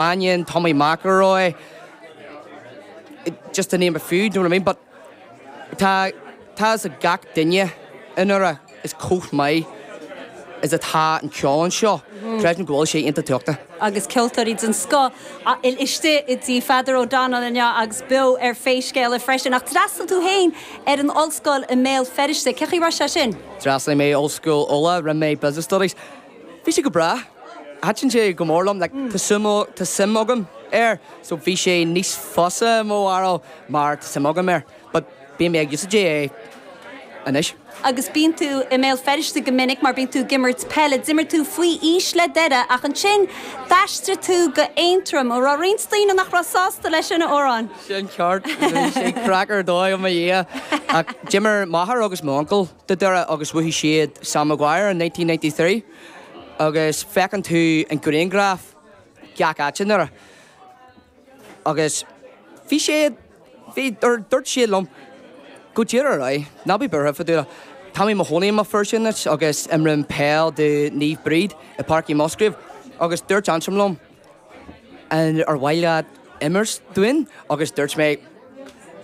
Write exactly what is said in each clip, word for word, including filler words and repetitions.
Mannion, Tommy McElroy, just to name a few, do you know what I mean? But tá tá a gach duine i nDoire is chomh maith is atá an ceol anseo. Creidim go bhfuil sé iontach tábhachtach. agus ceoltóirí den scoth istigh i dTigh Pheadar O'Donnell inniu agus beo ar Pé Scéal É freisin ach d'fhreastail tú féin ar an ollscoil i mBéal Feirste, Cén chaoi raibh sé sin? D'fhreastail mé Ollscoil Uladh rinne mé business studies. Bhí sé go breá. Thaitin sé go mór liom, like, tá tá suim agam air, so bhí sé níos fusa mo bharúil mar tá suim agam air, but bím ag úsáid é anois. Agus bíonn tú i mBéal Feirste go minic mar bíonn tú ag imirt peile, d'imir tú faoi aois le Doire ach ansin d'aistrigh tú go Aontroim ó raibh roinnt daoine nach raibh sásta leis sin a Odhráin. Sin ceart sé craic ar dóigh mo dhia ach d'imir m'athair agus m'uncail do Doire agus bhuaigh siad Sam Maguire in nineteen ninety three agus feiceann tú an grianghraf gach áit i nDoire. Agus bhí sé bhí dúirt siad liom go díreach ar aghaidh, ná bí buartha fá dtaobh. Tá mé i mo chónaí i mBéal Feirste anois agus imrím peil do Naomh Bríd i Páirc Uí Musgrave agus dúirt Aontroim liom an ar mhaith leat imirt dúinn agus dúirt mé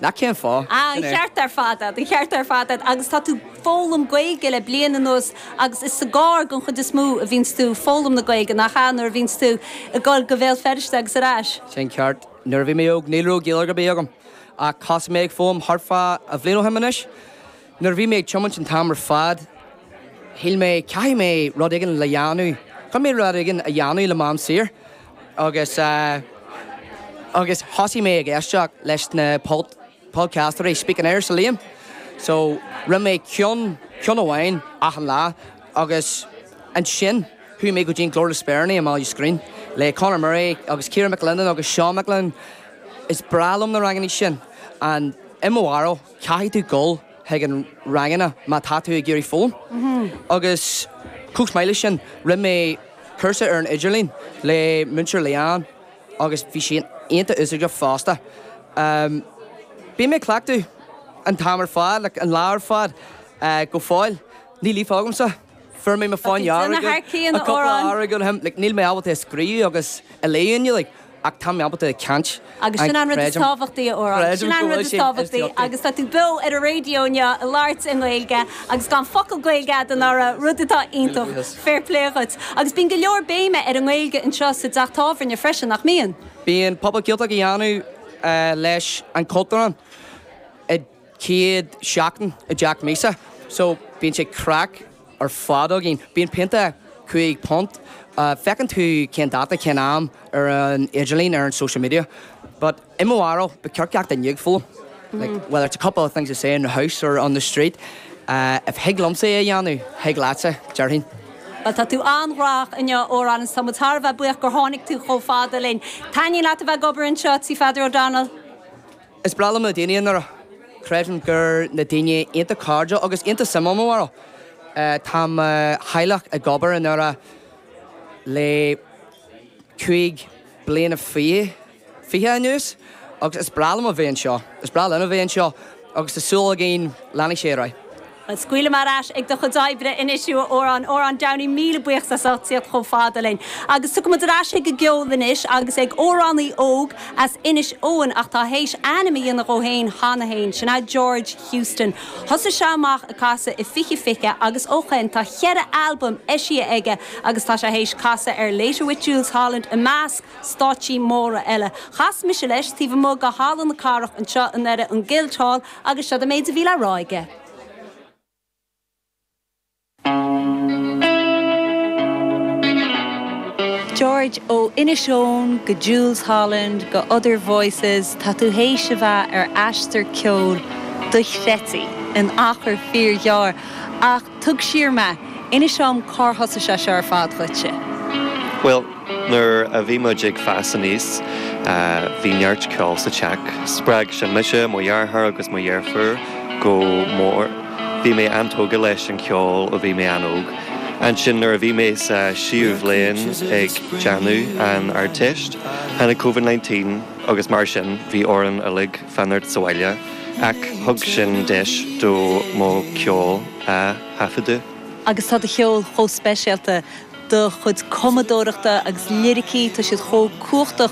nach cén fáth. An ceart ar fad an ceart ar fad agus tá tú ag foghlaim Gaeilge le bliain anuas agus is sa gcarr den chuid is mó a bhíonns tú ag foghlaim na Gaeilge nach ea nuair a bhíonns tú ag dul go Béal Feirste agus ar ais. Sin ceart nuair a bhí mé óg ní raibh Gaeilge ar bith agam ach thosaigh mé ag foghlaim thart fá a bhliain ó shin anois. Nuair a bhí mé ag tiomáint an t-am ar fad, shíl mé caithfidh mé rud éigin le dhéanamh, Caithfidh mé rud éigin a dhéanamh le m'am saor agus uh, agus thosaigh mé ag éisteacht leis na pod podcasterí Speaking Irish le Liam. So rinne mé ceann ceann amháin achan lá agus ansin chuaigh mé go dtí Glór na Spéireanna i mBaile Scrín le Conor Murray agus Ciara McLennan agus Sean McLennan. Is breá liom na ranganna sin an i mo bharúil caithfidh tú dul chuig an ranganna má tá tú ag iarraidh foghlaim. Agus chomh maith leis sin rinne mé cúrsa ar an idirlíon le múinteoir Leanne agus bhí sé iontach úsáideach fosta. Um, Bím ag cleachtadh an t-am ar fad, like, an lá ar fad uh, go fóill. Ní líofa agamsa. Fuair mé mo fáin like, níl mé ábalta scríobh agus a léamh like, ach tá mé ábalta caint. Agus sin an rud is tábhachtaí Odhrán. Sin an rud is tábhachtaí agus tá tú beo ar an raidió inniu ag labhairt i nGaeilge agus gan focal Gaeilge agat a rud atá iontach fair play duit. Agus bíonn go leor béime ar an nGaeilge anseo sa teach tábhairne freisin nach mbíonn. Bíonn Pop-up Gaeltacht a dhéanamh uh, leis an Cultúrlann i céad seachtain i dteach míosa. So bíonn sé craic ar fad againn. Bíonn pionta cúig punt. Uh, feiceann tú cén dáta cén am ar an idirlíon ar an social media. But i mo bharúil ba cheart gach duine ag foghlaim. Like, whether it's a couple of things to say in the house or on the street, uh, if thig liomsa é a dhéanamh, thig leatsa, déarfainn. Well tá tú an-ghnóthach inniu Odhrán tá muid thar a bheith buíoch gur tháinig tú chomh fada linn. Taitníonn leat a bheith ag obair anseo Tigh Pheadar O'Donnell. Is breá liom na daoine i nDoire. Creidim gur na daoine iontach cairdiúil agus iontach suimiúil mo bharúil. Uh, tá mo theaghlach ag obair i nDoire le cúig bliana fiche fiche anuas agus is breá liom a bheith anseo. Is breá linn a bheith anseo agus tá súil againn leanfaidh sé ar aghaidh. Scaoilim ar ais ag do chuid oibre anois Odhrán Odhrán Downey míle buíochas as ucht tíocht chomh fada linn. Agus tiocfaimid ar ais ag an gceol anois agus ag amhránaí óg as Inis Eoghain ach tá théis ainm a dhéanamh dó féin cheana féin, sin é George Houston. Thosaigh sé amach ag casadh i fiche fiche agus ó shin tá ceithre albam eisithe aige agus tá sé théis casadh ar Later with Jools Holland i measc stáitsí móra eile. Chas mise leis taobh amuigh de Halla na Cathrach anseo in Doire an Guildhall agus seo an méid a bhí le rá aige. George ó Inis Eoghain go Jools Holland go Other Voices tá tú théis a bheith ar aistear ceoil dochreidte in achar fíorghearr ach tóg siar mé inis dom cár thosaigh sé seo ar fad dhuitse. Well, nuair a bhí muid ag fás aníos, bhí neart ceol sa teach. Spreag sin mise, mo dheartháir agus mo dheirfiúr go mór. Bhí mé an-tógtha leis an ceol ó bhí mé an-óg. Ansin nuair a bhí mé sa séú bhliain ag déanamh an Ardteist, tháinig COVID nineteen agus mar sin bhí orainn uilig fanacht sa bhaile, ach thug sin deis do mo ceol a thaifeadadh. Agus tá do cheol chomh speisialta. Do chuid cumadóireachta agus liricí tá siad chomh cumhachtach.